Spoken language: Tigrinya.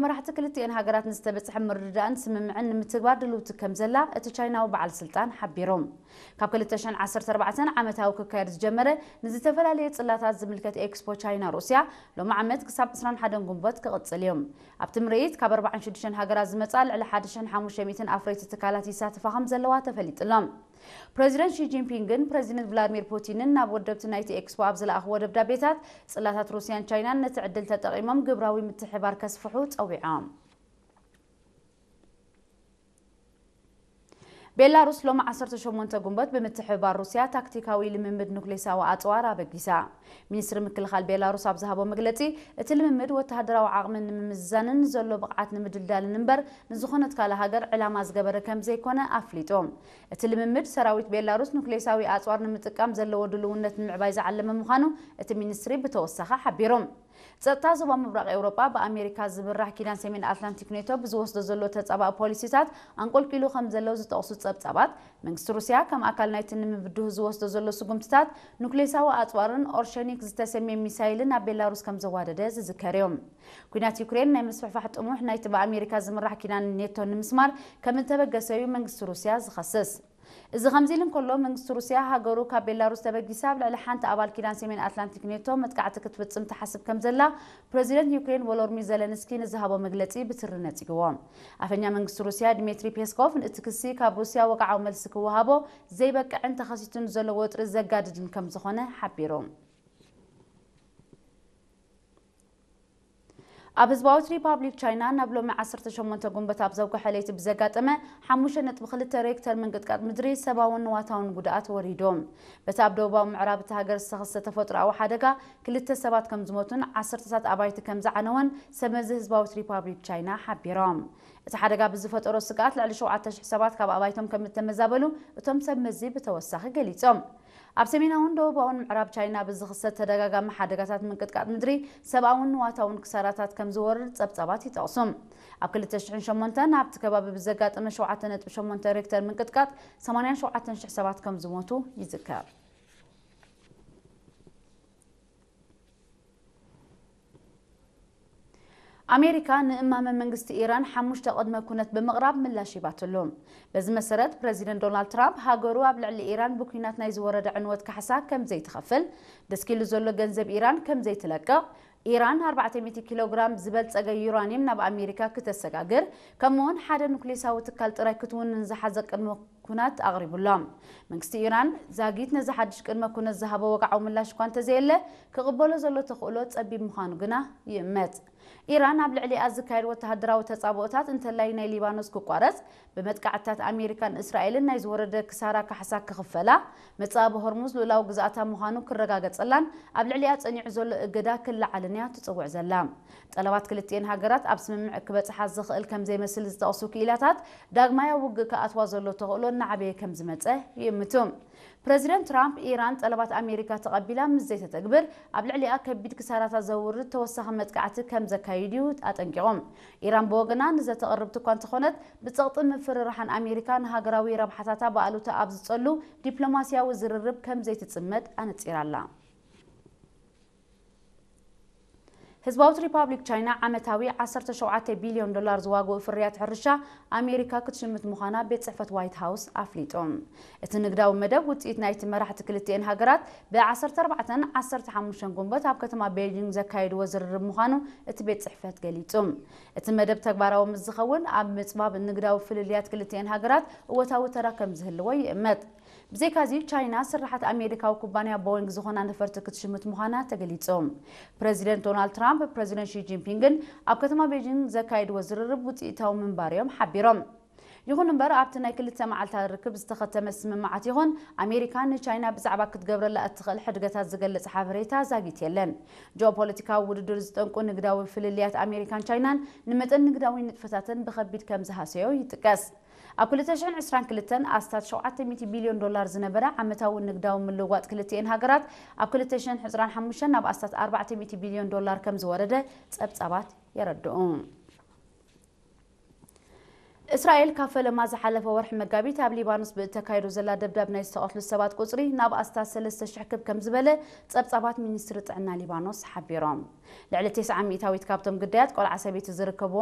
መራሕቲ ክልቲኤን ሃገራት ንዝተበጽሐ ምርድዳእን ስምምዕን ንምትግባር ድልውቲ ከም ዘላ እቲ ቻይናዊ በዓል ስልጣን ሓቢሩ። ካብ ክልተ ሽሕን ዓሰርተ ኣርባዕተን ዓመታዊ ክካየድ ዝጀመረ ንዝተፈላለየ ጽላታት ዝምልከት ኤክስፖ ቻይና ሩስያ ሎሚ ዓመት ክሳብ ዕስራን ሓደን ግንቦት ክቕጽል እዩ። ኣብቲ ምርኢት ካብ ኣርባዓን ሽዱሽተን ሃገራት ዝመጻ ልዕሊ ሓደ ሽሕን ሓሙሽተ ሚእትን ኣፍረይቲ ትካላት ይሳተፋ ከም ዘለዋ ተፈሊጡ ኣሎ። ፕረዚደንት ሺ ጂንፒንግን ፕረዚደንት ቭላድሚር ፑቲንን ናብ ወደብቲ ናይቲ ኤክስፖ ኣብ ዝለኣኽዎ ደብዳቤታት፣ ጽላታት ሩስያን ቻይናን ነቲ ዕድል ተጠቒሞም ግብራዊ ምትሕብባር ከስፍሑ ጸዊዖም። ቤላሩስ ሎሚ ዓሰርተ ሸሞንተ ግንቦት ብምትሕብባር ሩስያ ታክቲካዊ ልምምድ ኑክሌሳዊ ኣጽዋር ኣበጊሳ። ሚኒስትሪ ምክልኻል ቤላሩስ ኣብ ዝሃቦ መግለጺ፣ እቲ ልምምድ ወተሃደራዊ ዓቕሚ ንምምዝዛንን ዘሎ ብቕዓት ንምድልዳልን እምበር፣ ንዝኾነት ካልእ ሃገር ዕላማ ዝገበረ ከም ዘይኮነ ኣፍሊጡ። እቲ ልምምድ፣ ሰራዊት ቤላሩስ ኑክሌሳዊ ኣጽዋር ንምጥቃም ዘለዎ ድልውነት ንምዕባይ ዝዓለመ ምዃኑ እቲ ሚኒስትሪ ብተወሳኺ ሓቢሩ። ጸጥታ ዞባ ምብራቕ ኤውሮጳ ብኣሜሪካ ዝምራሕ ኪዳን ሰሜን ኣትላንቲክ ኔቶ ብዝወስዶ ዘሎ ተጻባኢ ፖሊሲታት ኣንቆልቂሉ ከም ዘሎ ዝጠቕሱ ጸብጻባት፣ መንግስቲ ሩስያ ከም ኣካል ናይቲ ንምብድሁ ዝወስዶ ዘሎ ስጉምትታት፣ ኑክሌሳዊ ኣጽዋርን ኦርሸኒክ ዝተሰምየ ሚሳይልን ናብ ቤላሩስ ከም ዘዋደደ ዝዝከር እዩ። ኲናት ዩክሬን ናይ ምስፍሕፋሕ ጥሙሕ ናይቲ ብኣሜሪካ ዝምራሕ ኪዳን ኔቶ ንምስማር ከም እተበገሰ እዩ መንግስቲ ሩስያ ዝኸስስ። እዚ ከምዚ ኢሉ እንከሎ፣ መንግስቲ ሩስያ ሃገሩ ካብ ቤላሩስ ተበጊሳ ኣብ ልዕሊ ሓንቲ ኣባል ኪዳን ሰሜን ኣትላንቲክ ኔቶ መጥቃዕቲ ክትፍጽም ትሓስብ ከም ዘላ ፕረዚደንት ዩክሬን ቮሎድሚር ዘለንስኪ ንዝሃቦ መግለጺ ብትሪ ነጺግዎ። ኣፈኛ መንግስቲ ሩስያ ድሜትሪ ፔስኮቭ፣ እቲ ክሲ ካብ ሩስያ ወግዓዊ መልሲ ክወሃቦ ዘይበቅዕን ተኸሲቱ ንዘሎ ወጥሪ ዘጋድድን ከም ዝኾነ ሓቢሩ። ኣብ ህዝባዊት ሪፓብሊክ ቻይና ናብ ሎሚ ዓሰርተ ሸሞንተ ግንቦት ኣብ ዘውግሐ ለይቲ ብዘጋጠመ ሓሙሽተ ነጥቢ ክልተ ሬክተር ምንቅጥቃጥ ምድሪ ሰብኣውን ንዋታውን ጉድኣት ወሪዱ። በቲ ኣብ ደቡባዊ ምዕራብ እታ ሃገር ዝተኸስተ ተፈጥሮኣዊ ሓደጋ ክልተ ሰባት ከም ዝሞቱን ዓሰርተታት ኣባይቲ ከም ዝዓነወን ሰብመዚ ህዝባዊት ሪፓብሊክ ቻይና ሓቢሮም። እቲ ሓደጋ ብዝፈጠሮ ስግኣት ልዕሊ ሸውዓተ ሽሕ ሰባት ካብ ኣባይቶም ከም እተመዛበሉ እቶም ሰብመዚ ብተወሳኺ ገሊጾም። ኣብ ሰሜናውን ደቡባውን ምዕራብ ቻይና ብዝኽሰት ተደጋጋሚ ሓደጋታት ምንቅጥቃጥ ምድሪ ሰብኣውን ንዋታውን ክሳራታት ከም ዝወርድ ጸብጻባት ይጠቕሱ። ኣብ ክልተ ሽሕን ሸሞንተን ኣብቲ ከባቢ ብዘጋጠመ ሸውዓተ ነጥቢ ሸሞንተ ሬክተር ምንቅጥቃጥ ሰማንያን ሸውዓተን ሽሕ ሰባት ከም ዝሞቱ ይዝከር። ኣሜሪካ ንእማመ መንግስቲ ኢራን ሓሙሽተ ቅድመ ኩነት ብምቕራብ ምላሽ ሂባትሉ። በዚ መሰረት፣ ፕረዚደንት ዶናልድ ትራምፕ ሃገሩ ኣብ ልዕሊ ኢራን ብኲናት ናይ ዝወረደ ዕንወት ካሕሳ ከም ዘይትኸፍል፣ ደስኪሉ ዘሎ ገንዘብ ኢራን ከም ዘይትለቅቕ፣ ኢራን ኣርባዕተ ሚእቲ ኪሎ ግራም ዝበልጸገ ዩራኒየም ናብ ኣሜሪካ ክተሰጋግር፣ ከምኡውን ሓደ ኑክሌሳዊ ትካል ጥራይ ክትውንን ዝሓዘ ቅድመ ኩናት ኣቕሪቡሎም። መንግስቲ ኢራን ዛጊት ነዚ ሓድሽ ቅድመ ኩነት ዝሃቦ ወግዓዊ ምላሽ እኳ እንተዘየለ፣ ክቕበሎ ዘሎ ተኽእሎ ጸቢብ ምዃኑ ግና ይእመት። ኢራን ኣብ ልዕሊኣ ዝካየድ ወተሃደራዊ ተጻብኦታት እንተላይ ናይ ሊባኖስ ክቋረጽ፣ ብመጥቃዕትታት ኣሜሪካን እስራኤልን ናይ ዝወረደ ክሳራ ካሕሳ ክኽፈላ፣ መጻብ ሆርሙዝ ልኡላዊ ግዝኣታ ምዃኑ ክረጋገጸላን ኣብ ልዕሊኣ ጸኒዑ ዘሎ እገዳ ክለዓልን እያ ትጽውዕ ዘላ። ጠለባት ክልቲኤን ሃገራት ኣብ ስምምዕ ክበጽሓ ዝኽእል ከም ዘይመስል ዝጠቕሱ ክኢላታት፣ ዳግማይ ኣብ ውግእ ክኣትዋ ዘሎ ተኽእሎ እናዓበየ ከም ዝመጸ ይእምቱ። ፕረዚደንት ትራምፕ፣ ኢራን ጠለባት ኣሜሪካ ተቐቢላ ምስ ዘይተተግብር፣ ኣብ ልዕሊኣ ከቢድ ክሳራታት ዘውርድ ተወሳኺ መጥቃዕቲ ከም ዘካይድ እዩ ኣጠንቂቑ። ኢራን ብወገና ንዘተቕርብቲ እኳ እንተኾነት፣ ብጸቕጢ ምፍርራሓን ኣሜሪካ ንሃገራዊ ረብሓታታ ብኣሉታ ኣብ ዝጸሉ ዲፕሎማስያዊ ዝርርብ ከም ዘይትጽመድ ኣነጺራ ኣላ። ህዝባዊት ሪፓብሊክ ቻይና ዓመታዊ ዓሰርተ ሸውዓተ ቢልዮን ዶላር ዝዋግኡ ፍርያት ሕርሻ ኣሜሪካ ክትሽምት ምዃና ቤት ጽሕፈት ዋይት ሃውስ ኣፍሊጡ። እቲ ንግዳዊ መደብ ውጽኢት ናይቲ መራሕቲ ክልቲኤን ሃገራት ብ ዓሰርተ ኣርባዕተን ዓሰርተ ሓሙሽተን ግንቦት ኣብ ከተማ ቤይጂንግ ዘካየድዎ ዝርርብ ምዃኑ እቲ ቤት ጽሕፈት ገሊጹ። እቲ መደብ ተግባራዊ ምስ ዝኸውን ኣብ ምጽባብ ንግዳዊ ፍልልያት ክልቲኤን ሃገራት እወታዊ ተራ ከም ዝህልዎ ይእመት። ብዘይካዚ፣ ቻይና ስርሓት ኣሜሪካዊ ኩባንያ ቦይንግ ዝኾና ነፈርቲ ክትሽምት ምዃና ተገሊጹ። ፕረዚደንት ዶናልድ ትራምፕ ፕረዚደንት ሺ ጂንፒንግን ኣብ ከተማ ቤጂንግ ዘካየድዎ ዝርርብ ውጽኢታዊ ምንባር እዮም ሓቢሮም። ይኹን እምበር፣ ኣብቲ ናይ ክልተ መዓልታት ርክብ ዝተኸተመ ስምምዓት ይኹን ኣሜሪካ ንቻይና ብዛዕባ ክትገብረላ እትኽእል ሕድገታት ዝገልጽ ሓበሬታ ዛጊት የለን። ጂኦፖለቲካዊ ውድድር ዝጠንቁ ንግዳዊ ፍልልያት ኣሜሪካን ቻይናን ንመጠን ንግዳዊ ንጥፈታተን ብኸቢድ ከም ዝሃሰዮ ይጥቀስ። ኣብ ክልተ ሽሕን ዕስራን ክልተን ኣስታት ሸውዓተ ሚእቲ ቢልዮን ዶላር ዝነበረ ዓመታዊ ንግዳዊ ምልውዋጥ ክልቲኤን ሃገራት፣ ኣብ ክልተ ሽሕን ዕስራን ሓሙሽተን ናብ ኣስታት ኣርባዕተ ሚእቲ ቢልዮን ዶላር ከም ዝወረደ ጸብጻባት የረድኡ። እስራኤል ካብ ፈለማ ዝሓለፈ ወርሒ መጋቢት ኣብ ሊባኖስ ብእተካይዶ ዘላ ደብዳብ ናይ ዝተቐትሉ ሰባት ቁጽሪ ናብ ኣስታት ሰለስተ ሽሕ ክብ ከም ዝበለ ጸብጻባት ሚኒስትሪ ጥዕና ሊባኖስ ሓቢሮም። ልዕሊ ተስዓ ሚእታዊት ካብቶም ግዳያት ቆልዓ ሰበይቲ ዝርከብዎም